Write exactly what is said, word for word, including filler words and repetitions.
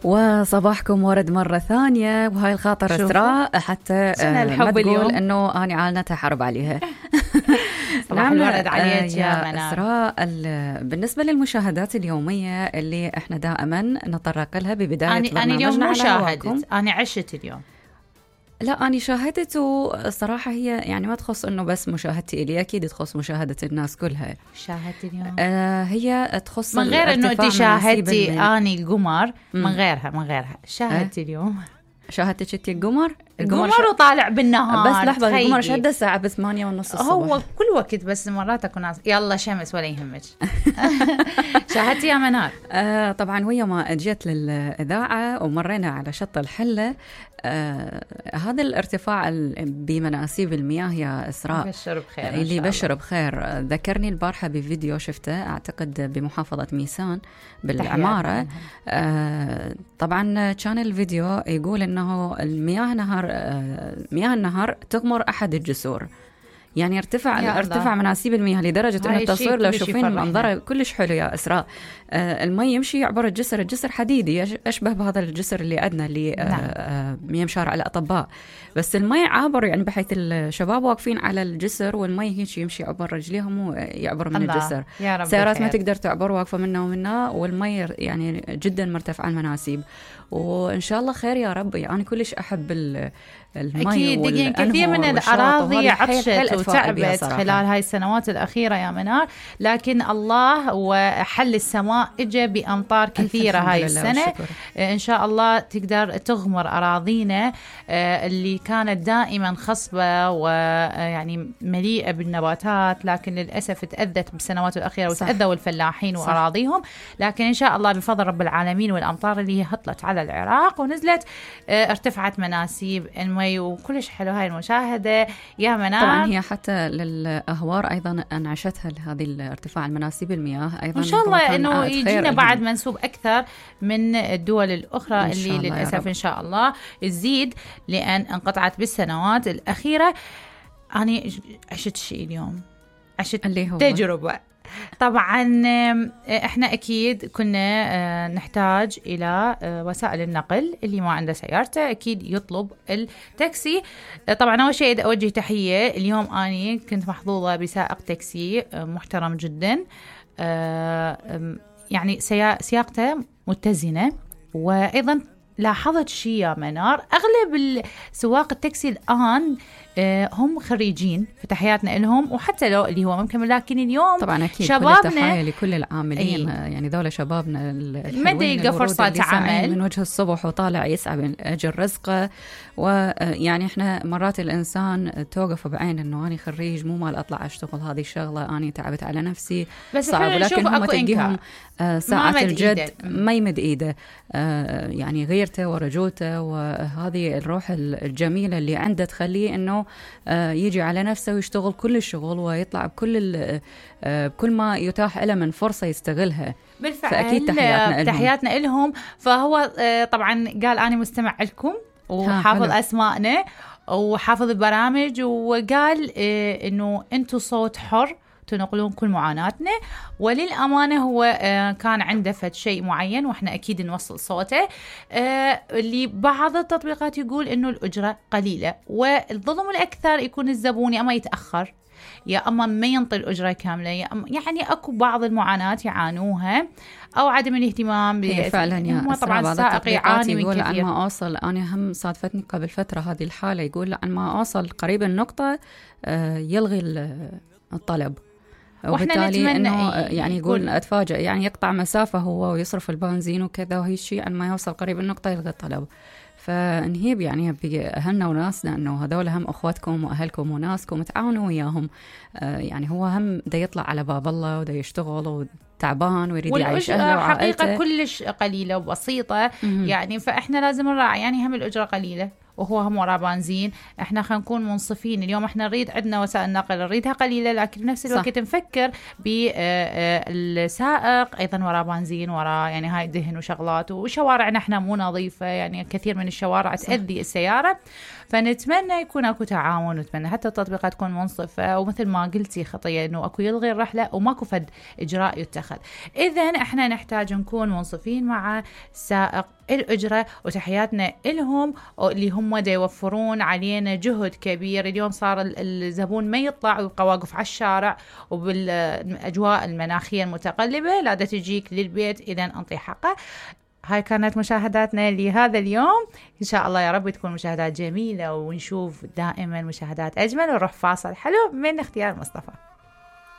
وصباحكم ورد مرة ثانية، وهاي الخاطر إسراء حتى ما تقول إنه أنا عالنتها حرب عليها. صباح الورد عليك يا منال. إسراء، بالنسبة للمشاهدات اليومية اللي إحنا دائما نتطرق لها ببداية برنامجنا، أنا اليوم مو شاهدت، أنا عشت اليوم. لا أنا شاهدت، والصراحة هي يعني ما تخص إنه بس مشاهدتي إلي، أكيد تخص مشاهدة الناس كلها. شاهدت اليوم آه هي تخص من غير إنه أنت شاهدتي أني القمر، من غيرها من غيرها شاهدتي اليوم. شاهدتك انت القمر؟ القمر ش... وطالع بالنهار. بس لحظة، القمر شهد الساعة بثمانية ونص الصبح. هو كل وقت، بس مرات أكون ناس يلا شمس ولا يهمك. شاهدتي يا منال؟ آه طبعا ويا ما جيت للإذاعة ومرينا على شط الحلة، آه هذا الارتفاع بمناسيب المياه يا إسراء بشر بخير اللي بشر بخير. ذكرني البارحة بفيديو شفته أعتقد بمحافظة ميسان بالعمارة. آه طبعا كان الفيديو يقول إنه المياه نهر آه مياه النهر تغمر أحد الجسور، يعني ارتفع ارتفع مناسيب المياه لدرجة أن التصوير لو شوفين منظره كلش حلو يا إسراء. آه المي يمشي يعبر الجسر، الجسر حديدي أشبه بهذا الجسر اللي عندنا اللي آه مياه شارع الأطباء، بس المي عابر يعني بحيث الشباب واقفين على الجسر والمي هيك يمشي يعبر رجليهم ويعبر من الجسر. سيارات ما تقدر تعبر واقفة منا ومنا، والمي يعني جدا مرتفع المناسيب. وإن شاء الله خير يا رب. يعني كلش أحب المي. أكيد كثير من الأراضي عطشت وتعبت خلال هاي السنوات الأخيرة يا منار، لكن الله وحل السماء إجا بأمطار كثيرة هاي السنة. إن شاء الله تقدر تغمر أراضينا اللي كانت دائما خصبة ويعني مليئة بالنباتات، لكن للأسف تأذت بالسنوات الأخيرة وتأذوا الفلاحين صح. وأراضيهم. لكن إن شاء الله بفضل رب العالمين والأمطار اللي هي هطلت على العراق ونزلت ارتفعت مناسيب المي، وكلش حلو هاي المشاهدة يا منال. طبعا هي حتى للأهوار أيضا أنعشتها لهذه الارتفاع المناسيب المياه أيضا. إن شاء الله إنه يجينا بعد منسوب أكثر من الدول الأخرى اللي للأسف إن شاء الله تزيد، لأن انقطعت بالسنوات الأخيرة. أنا عشت شيء اليوم، عشت تجربة. طبعا احنا اكيد كنا نحتاج الى وسائل النقل، اللي ما عنده سيارته اكيد يطلب التاكسي. طبعا اول شيء اوجه تحيه، اليوم اني كنت محظوظه بسائق تاكسي محترم جدا، يعني سياقته متزنه. وايضا لاحظت شيء يا منار، اغلب سواق التاكسي الان هم خريجين، فتحياتنا لهم، وحتى لو اللي هو ممكن، لكن اليوم طبعا أكيد شبابنا كل التحية لكل العاملين. أي. يعني ذولا شبابنا ما يلقى فرصة عمل من وجه الصبح وطالع يسعى من أجل رزقه. ويعني إحنا مرات الإنسان توقف بعين إنه أنا خريج مو مال أطلع أشتغل هذه الشغلة، أنا تعبت على نفسي بس صعب، لكن هم تلقيهم ساعة الجد إيده. ما يمد إيده، يعني غيرته ورجولته وهذه الروح الجميلة اللي عنده تخليه إنه يجي على نفسه ويشتغل كل الشغل ويطلع بكل بكل ما يتاح له من فرصة يستغلها. بالفعل فأكيد تحياتنا, تحياتنا لهم. فهو طبعا قال أنا مستمع لكم وحافظ أسماءنا وحافظ البرامج، وقال إنه أنتوا صوت حر تنقلون كل معاناتنا. وللأمانة هو كان عنده فد شيء معين وإحنا أكيد نوصل صوته. اللي بعض التطبيقات يقول إنه الأجرة قليلة، والظلم الأكثر يكون الزبون يا أما يتأخر يا أما ما ينطي الأجرة كاملة، يا أما يعني أكو بعض المعاناة يعانوها أو عدم الاهتمام. فعلا يا طبعا السائق يعاني من كثير. عن ما أوصل أنا هم صادفتني قبل فترة هذه الحالة، يقول عن ما أوصل قريب النقطة يلغي الطلب، وبالتالي انه يعني يقول اتفاجئ يعني يقطع مسافه هو ويصرف البنزين وكذا، وهي الشيء عن ما يوصل قريب النقطه يلغي الطلب. فنهيب يعني باهلنا وناسنا انه هذول هم اخواتكم واهلكم وناسكم، تعاونوا وياهم. آه يعني هو هم دا يطلع على باب الله ودا يشتغل وتعبان ويريد يعيش اهله وعائلته. حقيقه كلش قليله وبسيطه يعني، فاحنا لازم نراعي يعني هم الاجره قليله وهو هم وراه بنزين. احنا خلينا نكون منصفين، اليوم احنا نريد عندنا وسائل نقل نريدها قليله، لكن بنفس الوقت نفكر بالسائق ايضا وراه بنزين، وراه يعني هاي دهن وشغلات، وشوارعنا احنا مو نظيفه، يعني كثير من الشوارع تأذي السياره. فنتمنى يكون اكو تعاون، ونتمنى حتى التطبيقات تكون منصفه، ومثل ما قلتي خطيه انه اكو يلغي الرحله وماكو فد اجراء يتخذ. اذا احنا نحتاج نكون منصفين مع السائق الأجرة، وتحياتنا لهم اللي هم دا يوفرون علينا جهد كبير. اليوم صار الزبون ما يطلع ويبقى واقف على الشارع وبالأجواء المناخية المتقلبة، لا دا تجيك للبيت إذا أنطي حقه. هاي كانت مشاهداتنا لهذا اليوم، إن شاء الله يا رب تكون مشاهدات جميلة ونشوف دائما مشاهدات أجمل. ونروح فاصل حلو من اختيار مصطفى.